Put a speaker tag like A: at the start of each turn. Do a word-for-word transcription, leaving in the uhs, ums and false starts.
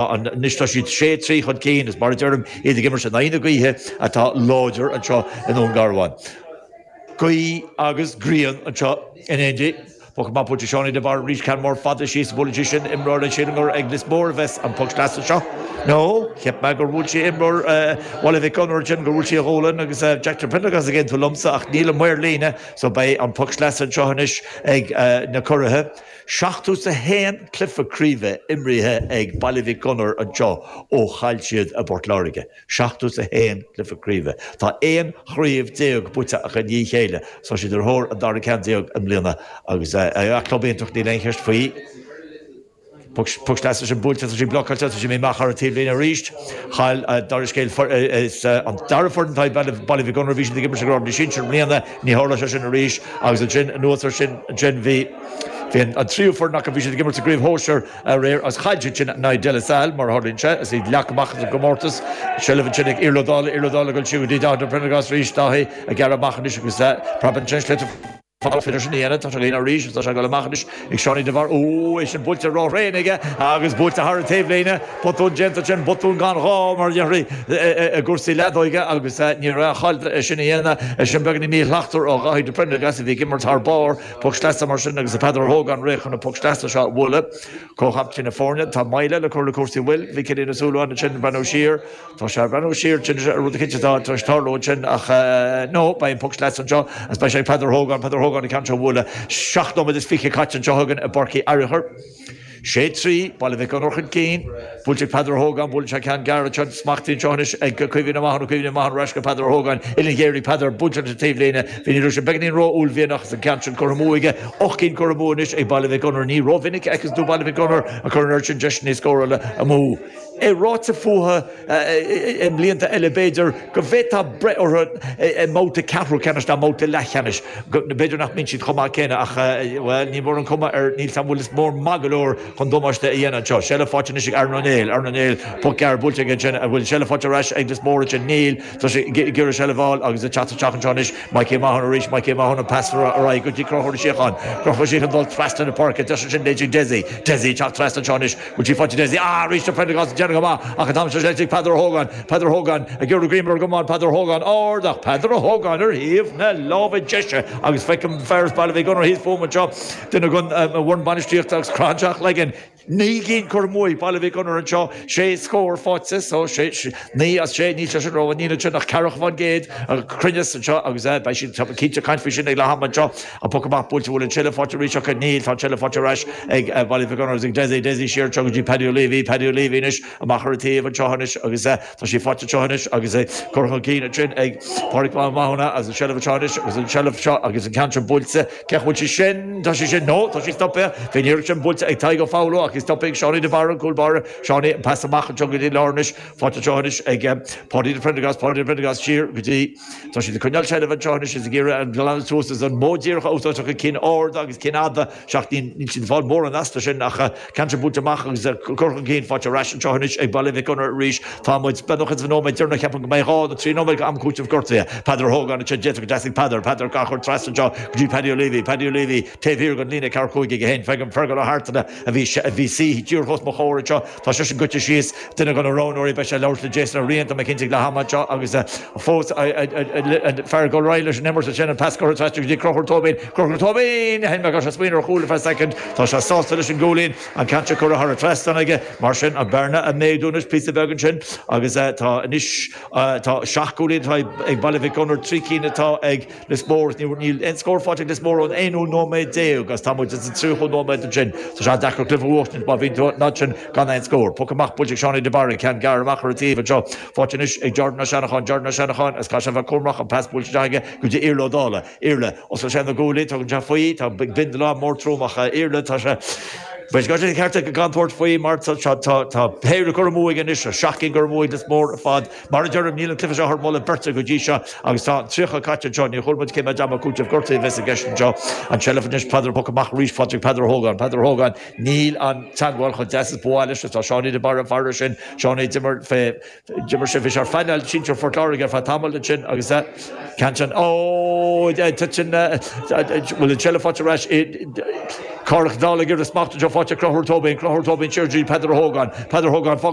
A: Anois tá siad sé trí chun cinn is mar a deirim iad ag imirt in aghaidh na gaoithe atá láidir anseo i nDún Garbhán. Gaoth agus grian anseo in éindí. Poc amach buailte Seánie de Barra arís ceann mór fada síos buaileann sé sin imreoir an sílim gur ag Lios Mór a bheas an poc sleasa seo. No, cheap mé gur bhuail sé imreoir Bhaile Mhic Gonair ansin gur bhuail sé a ghualainn agus Jack de Prendergast ag aontú liomsa ach níl an maor líne so beidh an poc sleasa anseo anois ag na curaithe. Seachtó is a haon cluiche craoibhe imrithe ag Baile Mhic Gonair anseo ó chaill siad i bPort Láirge. Seachtó is a haon cluiche craoibhe. Tá aon chraobh déag buaite acu i ndiaidh a chéile. Tá siad ar thóir an dara ceann déag i mbliana agus club iontach níl aon cheist faoi. Poc sleasa sin buailte tá sí blocáilte tá sí amach ar an taobhlíne arís. Chaill dara scéal is an dara foireann atá Baile Mhic Gonair bhí siad ag imirt i gcraobh sinsir i mbliana ní tharla sé sin arís agus ansin anuas air sin ansin bhí Bhí an tríú foireann acu bhí siad ag imirt sa gcraobh shóisir aréir agus chaill siad sin in aghaidh De La Salle mar a tharlaíonn sé is iad leagtha amach as an gcomórtas. Seilbh ansin ag Iarla Ó Dálaigh Iarla Ó Dálaigh ag dul siar go dtí Dáithí de Prendergast arís Dáithí ag gearradh amach anois agus preab ansin slite féidir sin a dhéanamh tá sé líon arís tá sé ag dul amach anois ag Seánie de Barra ó é sin buailte róthréan aige agus buailte thar an taobhlíne botún déanta sin botún gan ghá mar dhéarfaí i gcúrsaí leadóige agus ní raibh chaill sin a dhéanamh sin beagáinín míshlachtmhar ó Dháithí de Prendergast a bhí ag imirt thar barr poc sleasa mar sin agus Peadar Ó hÓgáin réidh chun an poc sleasa seo a bhualadh. Comhchaptaen na foirne tá Myla le cur le cúrsaí bhfuil bhí Cillian Ó Súilleabháin ansin breathnú siar Tá sé ag breathnú siar sin rud eicínt atá tar éis tarlú ansin ach no beidh an poc sleasa anseo agus beidh sé ag Peadar Ó hÓgáin Peadar Ó hÓgáin an ceann seo a bhualadh seacht nóiméad is fiche caite anseo againn i bPáirc Uí Fhearchair. Sé trí, Baile Mhic Gonair chun cinn, buailte ag Peadar Ó hÓgáin, buaileann sé ceann gearr anseo, smachtaithe anseo anois ag Caoimhín Ó Mathúna, Caoimhín Ó Mathúna ar ais go Peadar Ó hÓgáin, uillinn ghéar ag Peadar, buailte leis an taobhlíne, bhí ní raibh sé beagáinín ró-uaillmhianach agus an ceann sin curtha amú aige, ocht gcinn curtha amú anois ag Baile Mhic Gonair, ní rómhinic a fheiceann tú Baile Mhic Gonair ag cur an oiread sin deiseanna scórála amú. É ráite fúthu i mblianta eile b'fhéidir go bhféadfá breith orthu i mbabhta ceathrú ceannais ná mbabhta leathcheannais, b'fhéidir nach mbíonn siad chomh maith céanna ach, bhuel, ní mór an chuma ar níl 's a'm bhfuil Lios Mór maith go leor chun damáiste a dhéanamh anseo. Seilbh faighte anois ag Aaron Ó Néill, Aaron Ó Néill, poc gearr buailte aige ansin, an bhfuil seilbh faighte ar ais ag Lios Mór ansin? Níl, tá sé ag iarraidh seilbh a fháil agus ag teacht isteach anseo anois Mikey Ó Mathúna arís, Mikey Ó Mathúna pas ar aghaidh go dtí Conchúr Ó Síocháin, Conchúr Ó Síocháin dul trasna na páirce, deis ansin ag Dessie, Dessie ag teacht trasna anseo anois, Bhfuil sí faighte Dessie? Ah, arís tá Prendergast ag déanamh go maith ach an t-am seo ag Peadar Ó hÓgáin. Peadar Ó hÓgáin ag iarraidh greim ar an gcamán. Peadar Ó hÓgáin ard ach Peadar Ó Hógáin ar thaobh na láimhe deise agus feicim fear as Baile Mhic Gonair thíos fúm anseo, duine den bhfoireann bainistíochta agus croitheann sé a chloigeann. Naoi gcinn curtha amú ag Baile Mhic Gonair anseo, sé scór faighte so sé, naoi as sé, níl sé sin rómhaith, níl ansin ach ceathracha faoin gcéad cruinneas anseo agus beidh siad cinnte ag caint faoi sin ag leath ama anseo. An poc amach buailte bhfuil an tseilbh faighte arís acu? Níl, tá an tseilbh faighte ar ais ag Baile Mhic Gonair agus ag Dessie. Dessie siar anseo go dtí Paddy O'Leavy. Paddy O'Leavy anois amach ar an taobh anseo anois agus tá sí faighte anseo anois agus é curtha chun cinn ansin ag Pádraig Mac Mathúna agus an tseilbh anseo anois agus an tseilbh seo agus an ceann sin buailte. Cén chaoi bhfuil sí sin? Tá sí sin, no, tá sí stoptha. Bhí an iarracht sin buailte ag Tadhg Ó Foghlú ach í stoptha ag Seánie de Barra, an cúl báire. Seánie, an pas amach anseo go dtí lár anois. Faighte anseo anois ag Páidí de Prendergast, Páidí de Prendergast siar go dtí. Tá siad ag coinneáil seilbh anseo anois is ag iarraidh an glanadh suas is an modh díreach a úsáid acu, cinn arda agus cinn fhada, seacht níl siad ag fáil mórán astu sin ach ceann sin buailte amach agus curtha chun cinn faighte ar ais anseo anois ag Baile Mhic Gonair arís. Tá muid beagnach ins an nóiméad deireanach, ceapaim go mbeidh dhá nó trí nóiméad go am cúitimh gortaithe. Peadar Ó hÓgáin ansin, d'fhéadfadh go dteastaigh Peadar, Peadar á chur trasna anseo go dtí Paddy O'Leavy, Paddy O'Leavy taobh thiar den líne ceathracha cúig aige féin. Feicim Fergal Ó hArtana a bhí a bhí suí díreach os mo chomhair anseo, tá seisean goite síos, duine de na roghnóirí, beidh sé ag labhairt le Jason Ó Riain, tá mé cinnte ag leath ama anseo agus fós an fear ag dul ar aghaidh leis an imirt ansin, an pas curtha trasna go dtí Conchúr Tóibín, Conchúr Tóibín! Shíl mé go raibh sé ag smaoineamh ar chúl ar feadh soicind, tá sé sásta leis an gcúilín, an ceann seo curtha thar an trasnán aige, mar sin an bearna ag méadú anois píosa beag ansin agus tá anois tá seacht gcúilín atá ag Baile Mhic Gonair, trí cinn atá ag Lios Mór, níl aon scór faighte ag Lios Mór ón aonú nóiméad déag agus tá muid sa tríochú nóiméad ansin. Tá sé deacair cluiche a bhuachtaint má bhíonn tú an fhad sin gan aon scór. Poc amach buailte ag Seánie de Barra, ceann gearr amach ar an taobh anseo. Faighte anois ag Jordan Ó Seanacháin, Jordan Ó Seanacháin agus caithfidh sé a bheith cúramach, an pas buailte isteach aige go dtí Iarla Ó Dálaigh. Iarla, oscail sé na guaillí, tugann sé faoi, tá bindealán mór trom ach Iarla, tá sé. Bheadh sé ceart aige gan tabhairt faoi mar tá tá péire curtha amú aige anois, seacht gcinn curtha amú ag Lios Mór ar fad. Mar a deirim, níl an cluiche seo thar moladh beirte go dtí seo agus tá an tríocha caite anseo. Níor chuala muid cé mhéad am cúitimh gortaithe a bheas i gceist anseo. An tseilbh anois, Peadar poc amach arís faighte ag Peadar Ó hÓgáin. Peadar Ó hÓgáin, níl an teagmháil chomh deas is ba mhaith leis. Tá Seánie de Barra fara sin. Seánie d'imir fé D'imir sé, bhí sé ar phainéal sinsir Phort Láirge ar feadh tamaill ansin agus ceann sin, ó, titeann, bhfuil an tseilbh faighte ar ais, Cárthach Dála gur smacht seo fáte Conchúr Tóibín Conchúr Tóibín siar Peadar Hogan Peadar Hogan fágann